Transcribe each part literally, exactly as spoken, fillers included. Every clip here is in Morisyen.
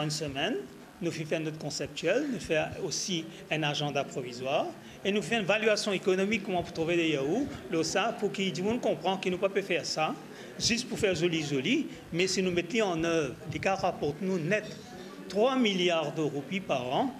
Enn semenn, nou finn fer not konseptiel, nou fer osi enn azanda provizwar, e nou fer enn valyasion ekonomik kouma pou trouve de yaourt, lor sa, pou ki dimoun konpran ki nou pa pe fer sa zis pou fer zoli zoli, me si nou met li an nev, li kav raport nou net trwa miliar de roupi par an.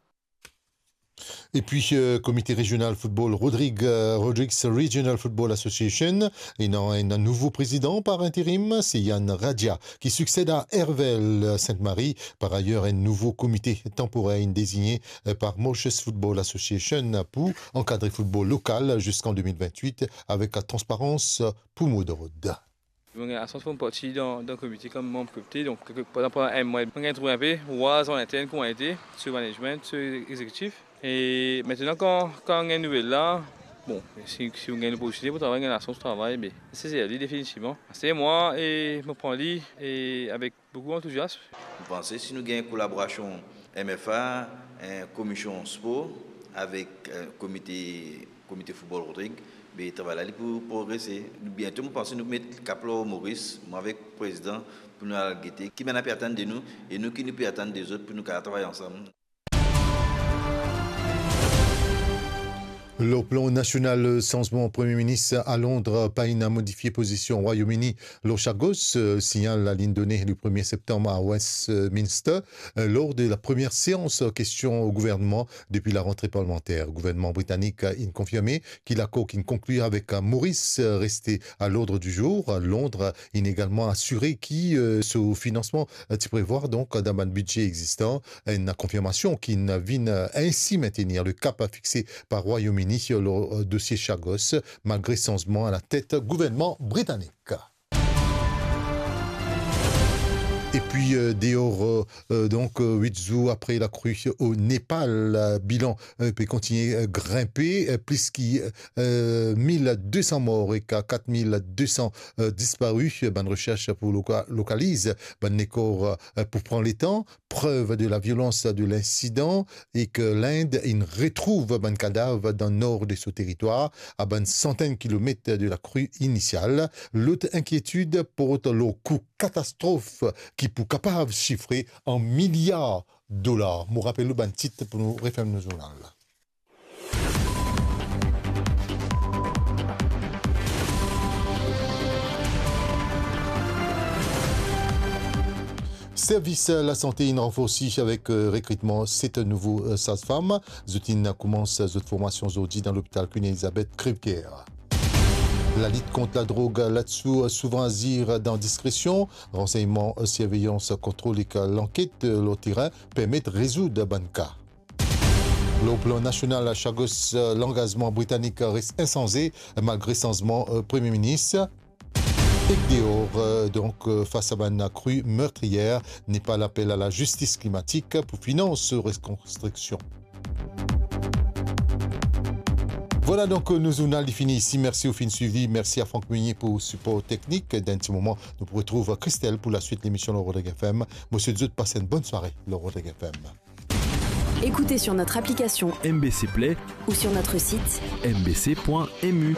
Epi, euh, Komite Rezional Football Rodrig, euh, Rodrigues Regional Football Association, ena enn nouvo prezidan par interim, se Yann Radia, ki siksed a Hervel Sainte-Marie, par ayer, enn nouvo komite tanporer inn dezigne, euh, par Mauritius Football Association pou ankadre football lokal ziska de mil vintwit avek transparans pou mo d'ord. Mo gagn lasans pou mo parti dan, dan komite kom manb komite, donk, kelke, pandan, pandan enn mwa, mo gagn trouv inpe, war an intern kouma ete, so management, so executive. E aster, kan, kan gagn nouvel la, bon, si, si mo gagn loportinite pou travay, gagn lasans pou travay, be, se, se li definitivman. Aster mwa, e mo pran li, e avek boukou antouziasm. Mo panse si nou gagn kolaborasion M F A, eh, Komisyon Spor avek, eh, Komite, Komite Football Rodrig, be, travay la li pou progrese. Biento, mo panse nou met kap lor Moris, mwa avek prezidan, pou nou al gete ki bann la pe atann de nou, e nou ki nou pe atann de zot pou nou kapav travay ansam. Lor plan nasional, sanzman Premie Minis a Londres pa inn modifie pozision Rwayom Ini lor Chagos, signal la inn done le premie septanm a Westminster, lor de la premie seans kestion o gouvernman depi larantre parlimanter. Gouvernman britanik inn konfirme ki lakor ki'nn konkli avek Moris reste a lord di zour. Londres inn egalman asire ki, eh, so finansman, eh, ti prevwar, donk, dan bann bidze egzistan, enn konfirmasion ki'nn vinn, eh, ensi mentenir le kap fixe par Rwayom Ini lor, eh, dosie Chagos, malgre sanzman a latet gouvernman britanik. Epi, eh, deor, eh, eh, donk, eh, wit zour apre lakri o Nepal, eh, bilan, eh, pe kontigne, eh, grinpe, eh, plis ki, eh, mil de san mor ek kat mil de san, eh, dispari. Bann resers pou loka-, lokaliz bann lekor, eh, pou pran letan. Prev de la violans de linsidan e ki Lind inn retrouv bann kadav dan nor de so teritwar, a bann santenn kilomet de lakri inisial. Lot inkietid port lor kou katastrof ki pou kapav sifre an miliar dolar. Mo rapel ou bann tit pou nou referm nou zournal. Servis lasante inn ranforsi avek, eh, rekritman set nouvo, eh, sazfam. Zot inn koumans zot formasion zordi dan lopital Queen Elizabeth Crèvecoeur. Lalit kont ladrog, ladsou souvan azir dan diskresion. Ransegnman, eh, sirveyans, kontrol ek lanket, eh, lor terin permet rezoud bann ka. Lor plan nasional, Chagos, eh, langazman britanik res insanze, malgre sanzman, eh, Premie Minis. Ek deor, eh, donk, eh, fas a bann lakri mertriyer, Nepal apel a lazistis klimatik pou finans rekonstriksion. Vwala, donk, eh, nou zournal li fini isi. Mersi ou finn swiv li. Mersi a Franck Meunier pou sipor teknik. Dan enn ti moman, nou pou retrouv Christelle pou laswit lemision lor Rodrigues F M. Mo swet zot pas enn bonn sware lor Rodrigues F M. Écoutez sur notre application M B C Play ou sur notre site M B C point M U.